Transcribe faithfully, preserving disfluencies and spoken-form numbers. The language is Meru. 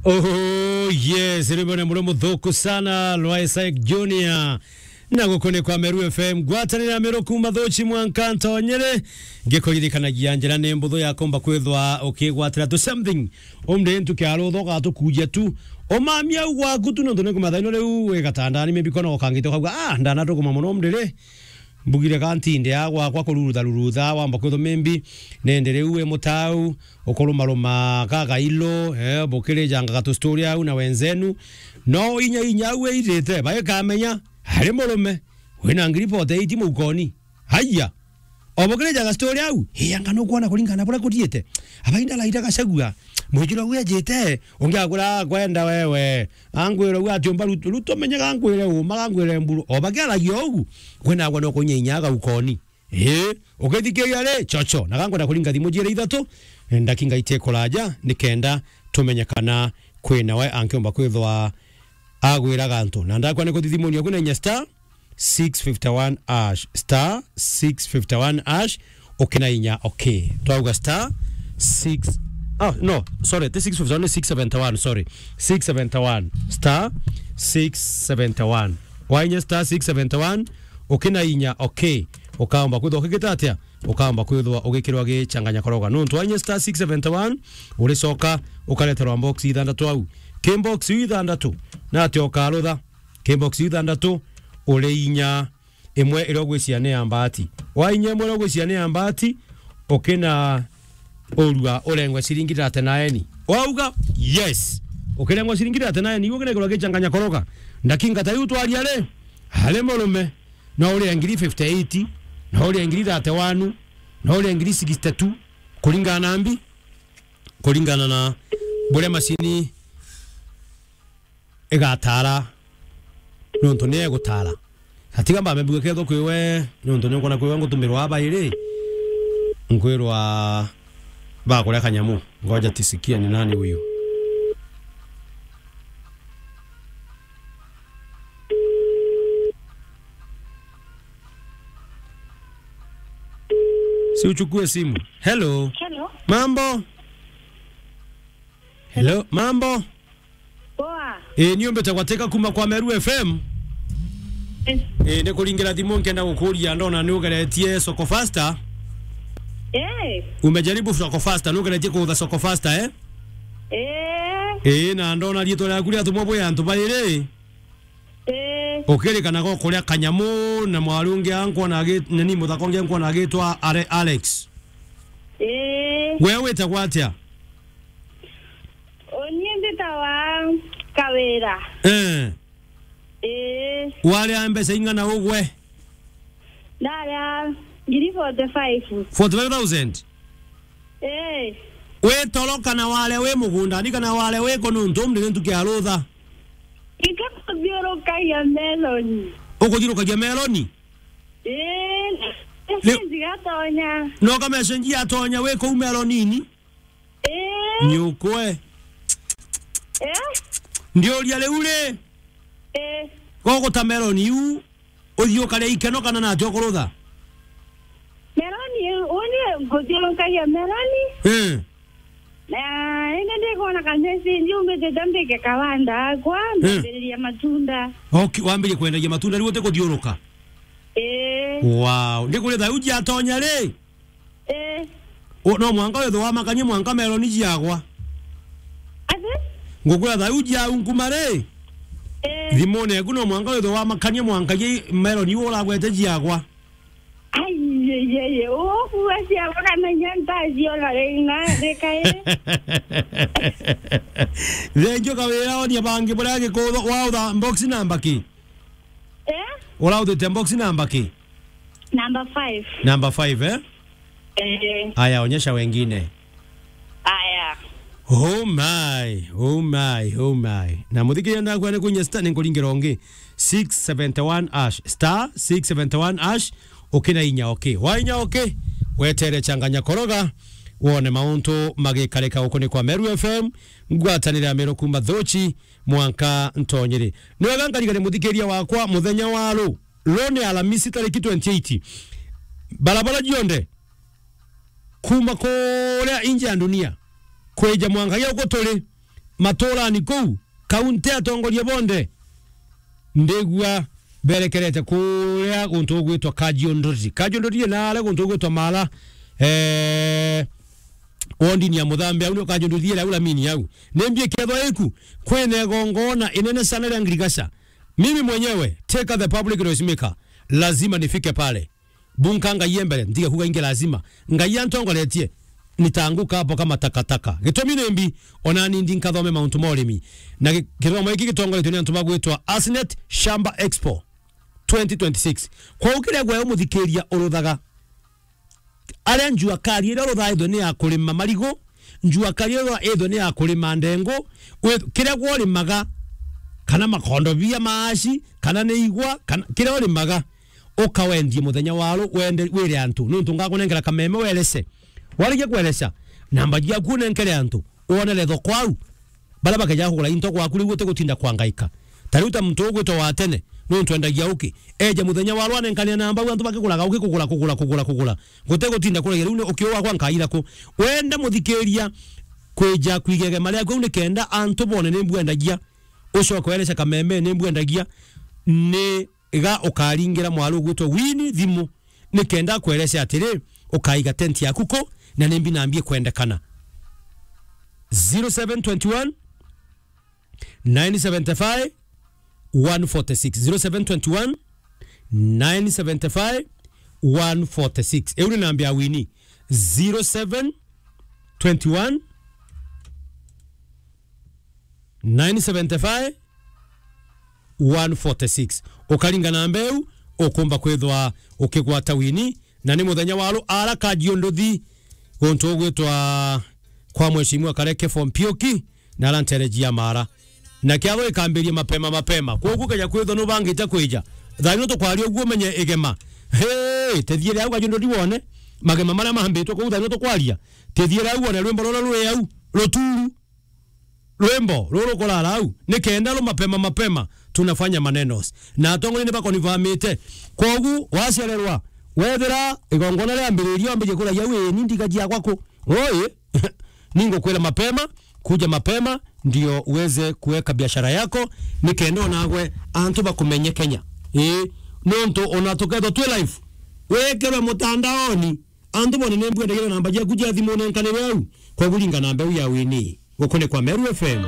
Oh, yes, rwimbo ni muthuku sana rwa Isaac Junior. Na guku ni kwa Meru F M, ngwatanira Meru kuma Thuchi mwanka Ntonyere. Ngikuririkanagia njira ni mbuthu ya kumba kwithwa ukigwatira tu something. Umri ntu kiarutha ugatukuja tu. Umamia u gwaku tu nontu ni kumathaino riu wi gatandani, maybe kona ukangite ukauga, "Ah, ndanatukuma muno umri ri." Mbugire ka ntinde a gwakwa kururutha rurutha, wamba kwithwa maybe nende riu wi mutau, ukurumaruma kagailo, eh, bukirijangaga tu story au na wenzenu. No inya inya au wirite, baikamenya, ari murume, wina ngiri forty eight mukoni. Haiya. Obukirijaga story au, ii anga nukwona kuringana na buria kuthiite? Abainda laira Gachagua, mwijiro gwijite, ungi akwira akwenda wewe. Angwire u atiumba Ruto, Ruto menye gankwire uma, gankwire mburu. Obakiaragia ugu, kwina agwa no kunya inya aga ukoni. Ii, ukithikiria ri, chocho. Na gankwenda kuringa thimu jire ithatu, ndaki ngaite kuraja, nikenda tumenye kana kwina we ankiumba kwithwa agwira gantu. Na ndakwa ni kuthithimunia kwina inya star six fifty one hash, star six fifty one hash, ukina inya, okay. Twauga star six, oh, no, sorry, ti six fifty one, ni six seventy one, sorry. Six seventy one, star six seventy one. Wainya star six seventy one, ukina inya, okay. Ukaomba kwithwa ukigita atia? Ukaomba kwithwa ugikirwa gichanganya koroga. Nontu wainya star six seventy one, uricoka ukareterwa box ithanthatu au. Ki box iu ithanthatu, na atia ukarutha? Ki box iu ithanthatu, uri inya imwe iria ugwiciria ni ya mbaati. Wainya imwe iria ugwiciria ni ya mbaati, ukina urua urengwe ciringi thirty nine. Wauga, yes. Ukirengwa ciringi thirty nine, iu ukinengerwa gichanganya koroga. Ndakinga ta iu twaria ri, ari murume, no urie ngiri fifty eight, no urie ngiri thirty one, no urie ngiri sixty two, kuringana na mbi, kuringana na buria macini igatara, nontu ni egutara. Atiga mbambe mbuge ketho kwi we, nontu ni nkwona kwi we ngutumirwa aba iri, nkwirwa bakuria kanyamu. Ngoja tisikie ni nani huyu. Si uchukue simu. Hello. Hello. Mambo? Hello, mambo? Poa. Eh, ni umbite gwateka kuma kwa Meru F M. Eh. Eh, ni kuringira thimu nkenda gukuria, ndona ni ugeretie Soko Faster. Eh. Umejaribu Soko Faster, ni ugeretie kuutha Soko Faster, eh? Eh. Eh, na ndona riitwa riaku riatumwa bwi antu bairi. Eh. Ukirikanaga ukuria kanyamu na mwari ungi ankwona agi-, na ni muthaka ungi ankwona agitwa Are-, Alex. Eh. We witagwa atia? Uni mbitawa Kawira. Eh. Eh. Waria mbeca ing'ana ugwe? Ndaria ngiri forty five. Forty five thousand? Eh. Wi toro kana waria wi mugundani kana waria wi ku nuntu umri ni ntuki ya rutha? Ika kuthiurukagia meloni. Ukuthiurukagia meloni? Eh. Ni- Message gatonya. No ka message yatonya wi kuu melonini? Eh. Nyukwe. Eh. Ndiuria riu ri. Eh. Goguta meloni iu. Uthii ukaria ikeno kana nati ukurutha? Meloni, uni nguthiurukagia meloni. Eh. Na indi ndikona ka message umbitite mbike kawanda akwa, eh, ndambiriria matunda. Okay, wambirie kwendagia matunda riu utikuthiuruka? Eh. Wow, ndikuria thaa iu jiatonya ri? Eh. O, no mwanka withwe wamakanie mwanka meloni jiagwa. Ati? Ngukwira thaa iu jiau nkuma ri? Eh. Thimune eku no mwanka withwe wamakanie mwanka gi meloni iu uragwete jiagwa. Ai, ye, ye, ye. Ukuwa ciagwa kana inya ntaciona ri na rikae. Thenjo Kawira, onia bangi buria gikutho, wautha box namba ki? Eh? Urauthite box namba ki? Number five. Number five, eh? Eh. Aya, onyesha wengine. Aya. Oh my, oh my, oh my. Na muthikiria ndakwa ni kunya star ni nkuringira ungi. Six seventy one hash, star six seventy one hash, ukina inya okay. Wa inya okay, wetere changanya koroga, wone mauntu magikarika guku ni kwa Meru F M, ngwatanire ya Meru kuma Thuchi, mwanka Ntonyiri. Ni wega nkarigane muthikiria wakwa muthenya wa ru, ru ni Alamisi tariki twenty eight. Barabara jionthe, kuma kuria inje ya dunia, kwija mwanka ya uko turi, maturani kuu, kaunti atongoria bonthe, ndigua berekerete kuria guntu gugwitwa Kajiondori. Kajiondori ina aria guntu gugwitwa Mara, eh, wondini ya Muthambe, au nio Kajiondori ira au Lamini au. Nimbi ikethwa iku, kwina igongona inene sana ria ngirigaca. Mimi mwenyewe, take the public noise maker, lazima nifike pale. Bunka Ngai e mbere, ntiga kuga ingi lazima. Ngai antongoretie, nitaanguka hapo kama takataka. Gitumi nimbi, ona ni ndi nkathome mauntu ma urimi. Na gi-, githomo giki gitongoretio ni antu bagwitwa Asnet Shamba Expo twenty twenty-six. Kwou kiria gwe umuthikiria uruthaga, aria njua kari iria uruthaga ithwe ni ya kurima marigu, njua kari iria ithwe ni ya kurima ndengu, wi-, kiria gwe urimaga, kana makondobia, maaci, kana ni igwa, kana kiria urimaga, ukawendie muthenya wa ru, wende, wire antu, nuntu ngakunengera kameme werece. Warikia kwereca, namba ciaku unenkere antu, wonere thoko au. Baria bakeja kugura into gwaku riu utigutinda kwangaika. Ta riu ta muntu ugwitwa wa tene, nuntu endagia uki. Eja muthenya wa ru anenkanire namba au antu bakiguraga uki kugura, kugura, kugura, kugura. Gutigutinda kuragia riu ni uki wakwa nkaira ku. Wenda muthikiria kwija kwiga igema riaku au nikenda antu bone ni mbwendagia. Ucoke wereca kameme ni mbwendagia. Ni ga ukaringira mwaru ugwitwa Winnie thimu, nikenda akwerece atiri, ukaiga tent yaku ku, na nimbi nambi ikwendekana. Zero seven twenty one, nine seventy five, one forty six. Zero seven twenty one, nine seventy five, one forty six. Iu ni nambi ya Winnie. Zero seven twenty one, nine seventy five, one forty six. Ukaringa namba iu, ukumba kwithwa ukigwata Winnie, na ni muthenya wa ru ara Kajiondori, guntu ugwitwa kwa Mheshimiwa Kareke for Mpioki, na ara ntereji ya Mara. Na kiatho ikambiria mapema mapema. Kwoguo keja kwithwa nubangite kwija, thaa ino tukwaria uguo umenye igema. Hey, tethiere au Kajiondori wone magema maria mambitwe kuu thaa ino tukwaria. Tethiere au wone rwimbo ruria ruri au, ruturu. Rwimbo ruru rukurara au, nikenda ru mapema mapema, tunafanya manenos. Na atongoria nibakonifamite. Kwogu, waciarerwa, wethira igongona riambiriria, wambiririe kuragia, "Wi, ni ndiga ciakwa ku?" Oi, ningukwira mapema, kuja mapema, ndio uweze kuweka biashara yako, nikenda onagwe antu bakumenye Kenya. Ii, nontu ona tukethwa twi live, wikirwe mutandaoni, antu bone ni mbwendagia namba ciaku cia thimu nenkanire au, kwogu ringa namba iu ya Winnie. Gukunikwa Meru F M.